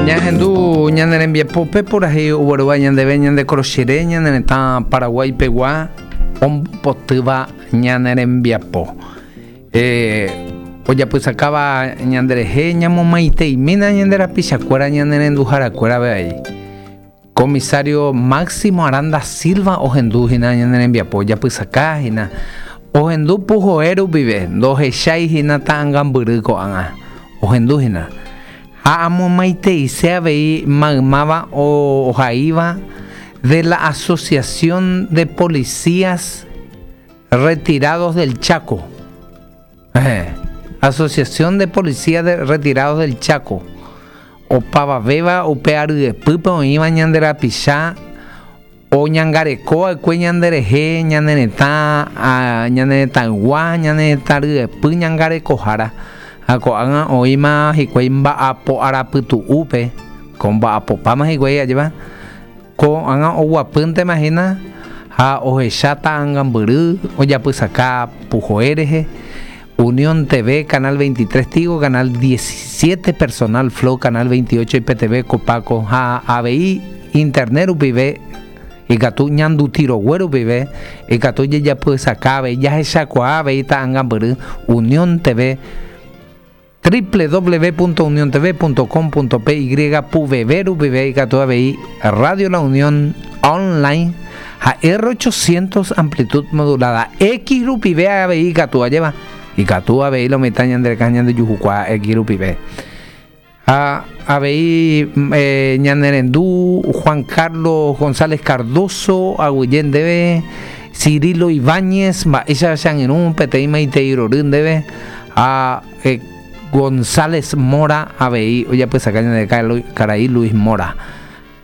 Ñahendu ñane rembiapópe purahéi oguerúva ñandéve ñande korochire ñane retã Paraguái pegua ombopotýva ñane rembiapo. Eh, ojapysakáva ñanderehe ñamomaiteimína ñande rapichakuéra ñane renduharakuéra avei. Comisario Máximo Aranda Silva ohendu hína ñane rembiapo ojapysaka hína. Ohendu puhoe rupive, ndohechái hína ta'angambyry ko'ág̃a. Ohendu hína. Ha amomaiteise avei maymáva ohaíva de la Asociación de Policías Retirados del Chaco. Asociación de Policías de Retirados del Chaco. Opavavéva upe aryepýpe oĩva ñande rapicha oñangareko va'ekue ñanderehe, ñane retã, ñane retãygua, ñane retã ryepy ñangarekohára. Ha ko'ág̃a oĩma hikuái mba'apo arapytu'úpe, ko mba'apopáma hikuái ajépa, Ko'ág̃a oguapýntema hína ha ohecha ta'angambyry ojapysaka puhoe rehe, Unión TV, Canal 23 Tigo, Canal 17 Personal Flow, Canal 28 IPTV, Copaco ha avei internet rupive ikatu ñanduti rogue rupive ikatu jejapysaka avei jahechakuaa avei ta'angambyry Unión TV, www.uniontv.com.py puveve rupive ikatu avei Radio La Unión Online ha R800 amplitud modulada X rupive avei ikatu ajéva ikatu avei lo mitã ñande rekã ñande juhukuaa X rupive ha avei eh, ñane rendu Juan Carlos González Cardozo aguyje ndéve Cirilo Ibáñez mba'éicha che angirũ peteĩ maitei rory ndéve Ha González Mora avei ojapysaka ñande karai Luis Mora.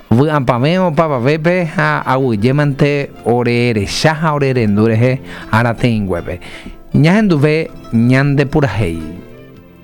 Vy'apavẽ opavavépe ha aguyjémante ore recha ha ore rendu rehe arateĩnguépe. Ñahenduve ñande purahéi.